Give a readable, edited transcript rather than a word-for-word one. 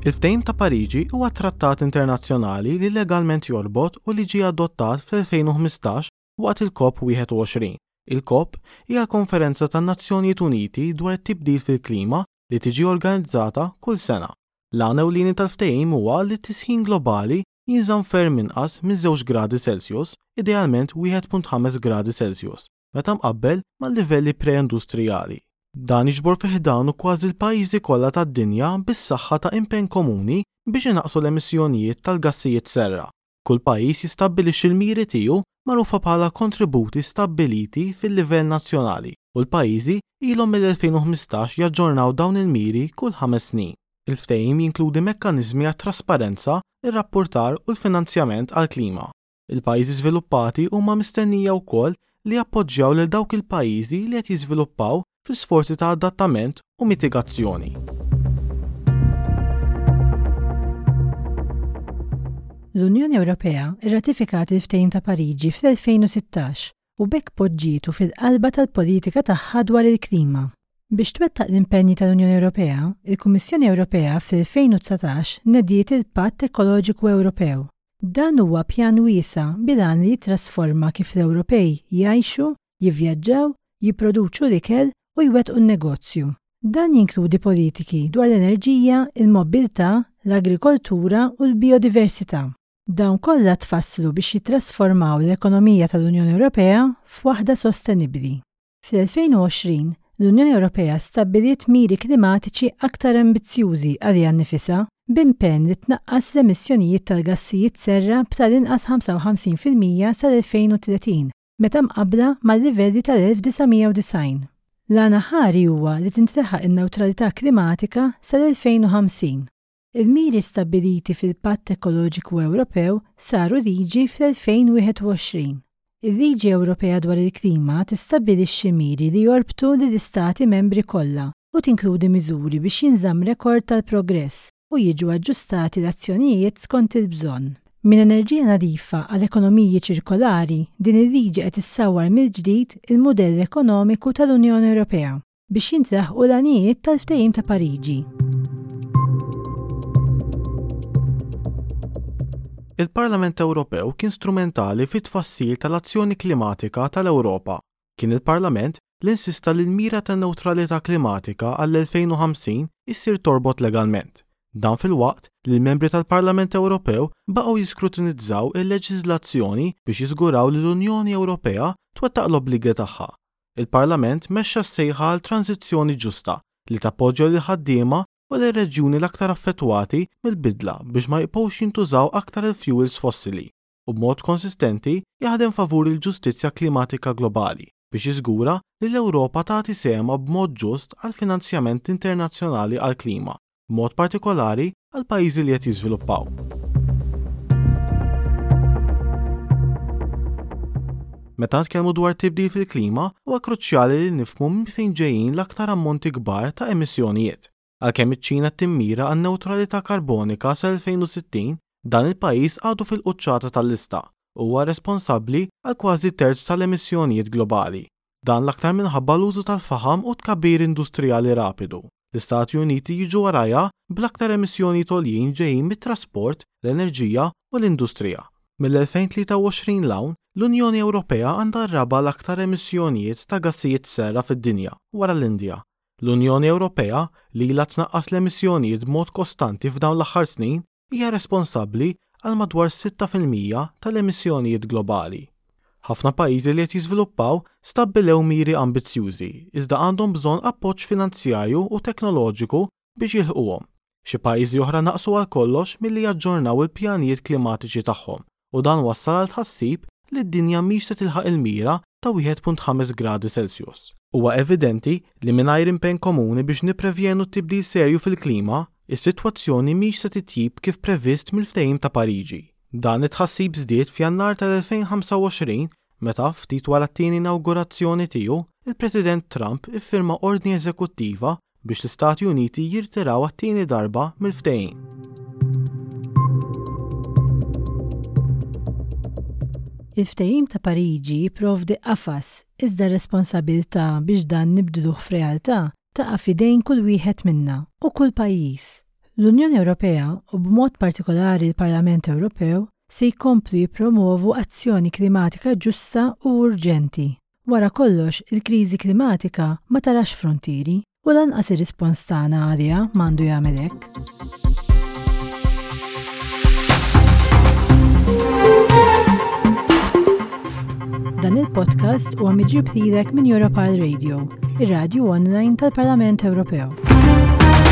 Il-Ftehim ta' Pariġi huwa trattat internazzjonali li legalment jorbot u li ġie adottat fl-2015 waqt il-COP 21. Il-COP hija l-konferenza tan-Nazzjonijiet Uniti dwar it-tibdil fil-klima li tiġi organizzata kull sena. L-għan ewlieni tal-ftehim huwa li t-tisħin globali jinżamm ferm inqas minn żewġ gradi Celsius, idealment 1.5 gradi Celsius, meta mqabbel mal-livelli pre-industrijali. Dan jiġbor fi ħdanu kważi l-pajjiżi kollha tad-dinja bis-saħħa ta' impenn komuni biex inaqqsu l-emissjonijiet tal-gassijiet serra. Kull pajjiż jistabbilixxi l-miri tiegħu magħrufa bħala kontributi stabbiliti fil-livell nazzjonali u l-pajjiżi ilhom mill-2015 jaġġornaw dawn il-miri kull ħames snin. Il-ftehim jinkludi mekkaniżmi għat-trasparenza, ir-rappurtar u l-finanzjament għall-klima. Il-pajjiżi żviluppati huma mistennija wkoll li jappoġġjaw lil dawk il-pajjiżi li qed jiżviluppaw fl-isforzi ta' adattament u mitigazzjoni. L-Unjoni Ewropea rratifikat il-Ftehim ta' Pariġi fl-2016 u b'hekk poġġietu fil-qalba tal-politika tagħha dwar il-klima. Biex twettaq l-impenji tal-Unjoni Ewropea, il-Kummissjoni Ewropea fl-2019 nediet il-Patt Ekoloġiku Ewropew. Dan huwa pjan wiesa' bil-għan li jittrasforma kif l-Ewropej jgħixu, jivvjaġġaw, jipproduċu l-ikel u jwettqu n-negozju. Dan jinkludi politiki dwar l-enerġija, il-mobbiltà, l-agrikoltura u l-bijodiversità. Dawn kollha tfasslu biex jittrasformaw l-ekonomija tal-Unjoni Ewropea f'waħda sostenibbli. Fl-2020, l-Unjoni Ewropea stabbiliet miri klimatiċi aktar ambizzjużi għaliha nnifisha, b'impenn li tnaqqas l-emissjonijiet tal-gassijiet serra b'tal-inqas 55% sal-2030 meta mqabbla mal-livelli tal-1990. L-għan aħħari huwa li tintlaħaq in-newtralità klimatika sal-2050. Il-miri stabbiliti fil-Patt Ekoloġiku Ewropew saru liġi fl-2021. Il-Liġi Ewropea dwar il-Klima tistabbilixxi miri li jorbtu lill-Istati Membri kollha u tinkludi miżuri biex jinżamm rekord tal-progress u jiġu aġġustati l-azzjonijiet skont il-bżonn. Minn enerġija nadifa għal ekonomiji ċirkolari, din il-liġi qed issawwar mill-ġdid il-mudell ekonomiku tal-Unjoni Ewropea. biex jintlaħqu l-għanijiet tal-Ftehim ta' Pariġi. Il-Parlament Ewropew kien strumentali fit-tfassil tal-azzjoni klimatika tal-Ewropa. Kien il-Parlament li insista li l-mira tan-newtralità klimatika għall-2050 issir torbot legalment. Dan filwaqt li l-membri tal-Parlament Ewropew baqgħu jiskrutinizzaw il-leġiżlazzjoni biex jiżguraw li l-Unjoni Ewropea twettaq l-obbligi tagħha. Il-Parlament mexxa s-sejħa għal tranżizzjoni ġusta li tappoġġja lill-ħaddiema u lir-reġjuni l-aktar affettwati mill-bidla biex ma jibqgħux jintużaw aktar il-fjuwils fossili u b'mod konsistenti jaħdem favur il-ġustizzja klimatika globali biex jiżgura li l-Ewropa tagħti sehemha b'mod ġust għall-finanzjament internazzjonali għall-klima b'mod partikolari għall-pajjiżi li qed jiżviluppaw. Meta nitkellmu dwar tibdil fil-klima, huwa kruċjali li nifhmu minn fejn ġejjin l-aktar ammonti kbar ta' emissjonijiet. Għalkemm iċ-Ċina timmira għan-newtralità karbonika sal-2060, dan il-pajjiż għadu fil-quċċata tal-lista u huwa responsabbli għal kważi terz tal-emissjonijiet globali. Dan l-aktar minħabba l-użu tal-faħam u t-tkabbir industrijali rapidu. L-Istati Uniti jiġu warajha bl-aktar emissjonijiet għoljin ġejjin mit-trasport, l-enerġija u l-industrija. Mill-2023 'l hawn, l-Unjoni Ewropea għandha r-raba' l-aktar emissjonijiet ta' gassijiet serra fid-dinja, wara l-Indja. L-Unjoni Ewropea, li ilha tnaqqas l-emissjonijiet b'mod kostanti f'dawn l-aħħar snin, hija responsabbli għal madwar 6% tal-emissjonijiet globali. Ħafna pajjiżi li qed jiżviluppaw stabbilew miri ambizzjużi iżda għandhom bżonn appoġġ finanzjarju u teknoloġiku biex jilħquhom. Xi pajjiżi oħra naqsu għal kollox milli jaġġornaw il-pjanijiet klimatiċi tagħhom u dan wassal għal tħassib li d-dinja mhix se tilħaq il-mira ta' 1.5 gradi Celsius. Huwa evidenti li mingħajr impenn komuni biex nipprevjenu t-tibdil serju fil-klima, is-sitwazzjoni mhix se titjib kif previst mill-Ftehim ta' Pariġi. Dan it-tħassib żdied f'Jannar tal-2025 meta, ftit wara t-tieni inawgurazzjoni tiegħu, il-President Trump iffirma ordni eżekuttiva biex l-Istati Uniti jirtiraw għat-tieni darba mill-ftehim. Il-Ftehim ta' Pariġi jipprovdi qafas, iżda r-responsabilità biex dan nibdluh f'realtà taqa' f'idejn kull wieħed minna u kull pajjiż. L-Unjoni Ewropea, u b'mod partikolari l-Parlament Ewropew, se jkomplu jippromovu azzjoni klimatika ġusta u urġenti. Wara kollox, il-kriżi klimatika ma tarax fruntieri u lanqas ir-rispons tagħna għaliha m'għandu jagħmel hekk. Dan il-podcast huwa miġjub lilek minn Europal Radio, ir-radju online tal-Parlament Ewropew.